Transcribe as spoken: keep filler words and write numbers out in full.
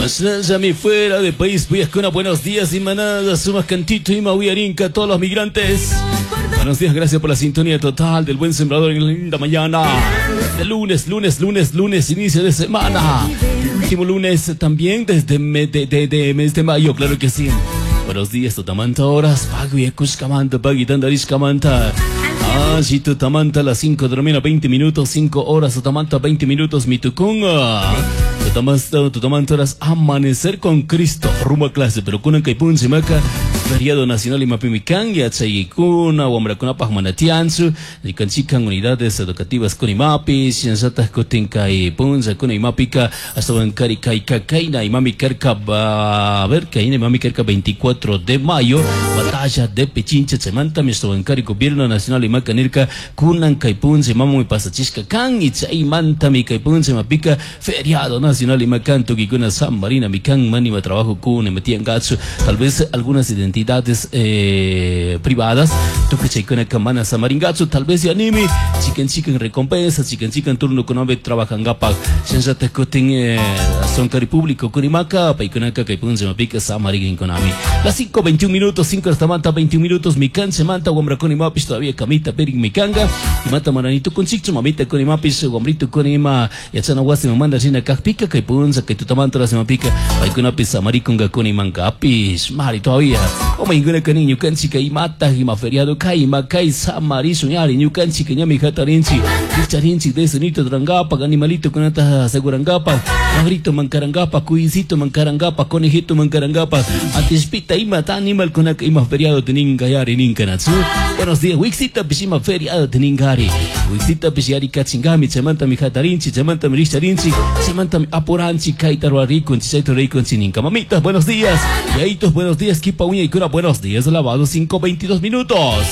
Masnallami fuera de país, con buenos días y manada, sumas cantito y mahuiarinca a todos los migrantes. Buenos días, gracias por la sintonía total del Buen Sembrador en la linda mañana. De lunes, lunes, lunes, lunes, inicio de semana. Último lunes también desde de, de, de mes de mayo, claro que sí. Buenos días, Totamanta horas, pago y Kuskamanta, pagui tandarishkamanta. Ah, sí, Totamanta a las cinco de la mañana, veinte minutos, cinco horas, Totamanta, veinte minutos, mitukunga. Totamanta, Totamanta horas, amanecer con Cristo, rumbo a clase, pero kunan kay punchi maca, feriado nacional y mapimikan, yachaykuna, wamrakunapaj manatianchu, rikanchikan unidades educativas kunimapi, shinllataj kutin kay puncha kunimapika, hasta kari kay kakaina, imami karka, a ver, kayna imami karka veinticuatro de mayo, batalla de Pichincha, chaymanta, kari gobierno nacional imaka nirka, kunan kay puncha, imamu pasachishka kan, y chaymantami kay puncha imapika, feriado nacional imakan, tukikuna San Marina, mikan, manima trabajo kun, metian gacho, tal vez algunas identidades eh, privadas, tukuy chaykunaka mana samaringachu, tal vez yanimi, chicken chicken recompensa, chicken chicken turno kunapi trabajangapak, shinllatak kutin eh, sonkari público kunimaka, paykunaka kay puncha imapika samarinkunami. Las cinco veintiún minutos, cinco hasta manta veintiún minutos, mikan semanta, wamrakunimapish todavía kamita perin mikanga, y mata maranito con chicho, mamita kunimapis, wamrito kunima, yachana wasi mamanda shina kajpika, kay puncha, kay tutamanta la semapika, paykunapis samarikunga kunimankapish, mari todavía. O mainguna kani ñukanchika imata ima feriado kay ima kay samarisun yari ñukanchika ñami hatarinchi richarinchi de nito drangapa animalito kunata asegurangapa cabrito mancarangapa cuisito mancarangapa conejito mancarangapa antispita ima ta animal kunaka ima feriado teninga yari ninkanatsu. Buenos días, wixita pishima feriado teningari wixita pishiyari kachingami chaymanta mi hatarinchi chaymanta mi richarinchi chaymanta mi apuranchi kayta ruarikunchi chayta rurikunchi ninka. Mamitas, buenos días. Yaitos, buenos días. Kipa uña y cura, buenos días. Lavado, cinco veintidós minutos.